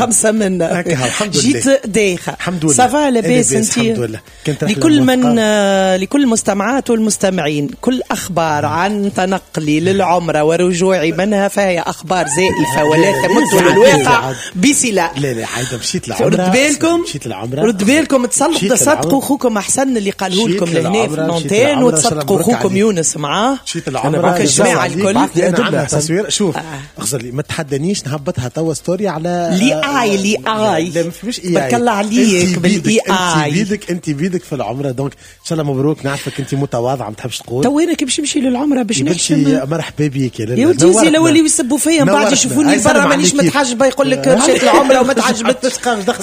خمسة من هكا، الحمد لله. جيت دايخة. الحمد لله. ça va، لاباس؟ لاباس، انت؟ الحمد لله. كانت رحلة لكل من موفقة. لكل المستمعات والمستمعين، كل أخبار عن تنقلي للعمرة ورجوعي منها فهي أخبار زائفة ولا لا، لا، تمت لا، للواقع لا، بصلة. لا لا عايدة، مشيت العمرة. رد بالكم. مشيت العمرة. رد بالكم تصدقوا مشيت تصدقوا للعمرة. خوكم احسن اللي قاله مشيت لكم لهنا في للعمرة، مشيت l'antenne للعمرة، وتصدقوا مبروك خوكم عليك. يونس معاه. مشيت العمرة. معك الجماعة الكل. بعث لي أدلة. عندها تصوير، شوف اخزر لي، ما تحدانيش، نهبطها توا story على لي اي لي اي. لا، ما فيش اي. بارك الله عليك بال AI. انت بيدك، انت بيدك في العمره، donc ان شاء الله مبروك. نعرفك انت متواضعه، ما تحبش تقول. تو انا كي باش نمشي للعمرة باش يا بنتي نحشم؟ مرحبا بك يا لاله. يا ولدي نورتنا. لو اللي يسبوا فيا من بعد نورتنا. يشوفوني هاي برا سلم مانيش عليك. متحجبه، يقول لك مشيت العمرة وما تعجبتش.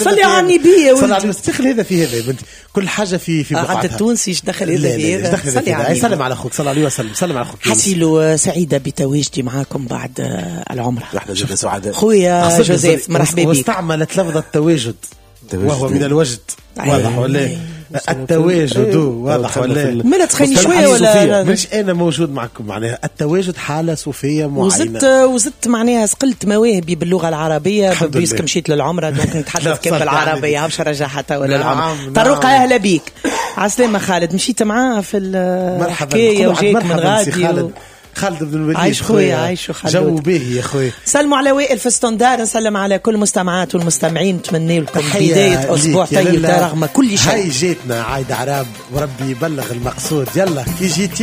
صلي على النبي يا صلي على ولدي. النبي. دخل هذا في هذا يا بنتي، كل حاجة في عاد بقعتها. التونسي ايش دخل هذا لا في لا لا، هذا؟ دخل هذا صلي في على هذا. هاي النبي. سلم على اخوك، صلى عليه وسلم، سلم على اخوك يونس. حسيلو سعيدة بتواجدي معاكم بعد العمره. احنا جدا سعداء. خويا أخسر جوزيف، مرحبا بك. واستعملت لفظ التواجد التواجد. وهو من الوجد. أيوة. واضح ولا إيه؟ التواجد واضح ولا إيه؟ ما لا تخيني مصطلح شوية ولا الصوفية. لا؟ مش انا موجود معكم، معناها التواجد حاله صوفية معينه. وزدت معناها سقلت مواهبي باللغة العربيه. الحمد puisque لله. مشيت للعمره، donc لا، نتحدث كان صلي بالعربيه، على باش نرجعها توا نعم، للعمره. نعم. طروقه، اهلا بيك، عسلامة خالد، مشيت معاه في مرحبا. الحكاية نقولوا عاد وجايك من مرحبا سي غادي خالد، خالد بن الوليد. عايش خويا، عايش خالد. جو باهي يا خويا. سلموا على وائل في standard، نسلم على كل المستمعات والمستمعين، نتمنى لكم تحية بداية أسبوع ليك يا طيب لاله. رغم كل شيء. هاي جيتنا عايدة عراب، وربي يبلغ المقصود، يلا كي جيتي.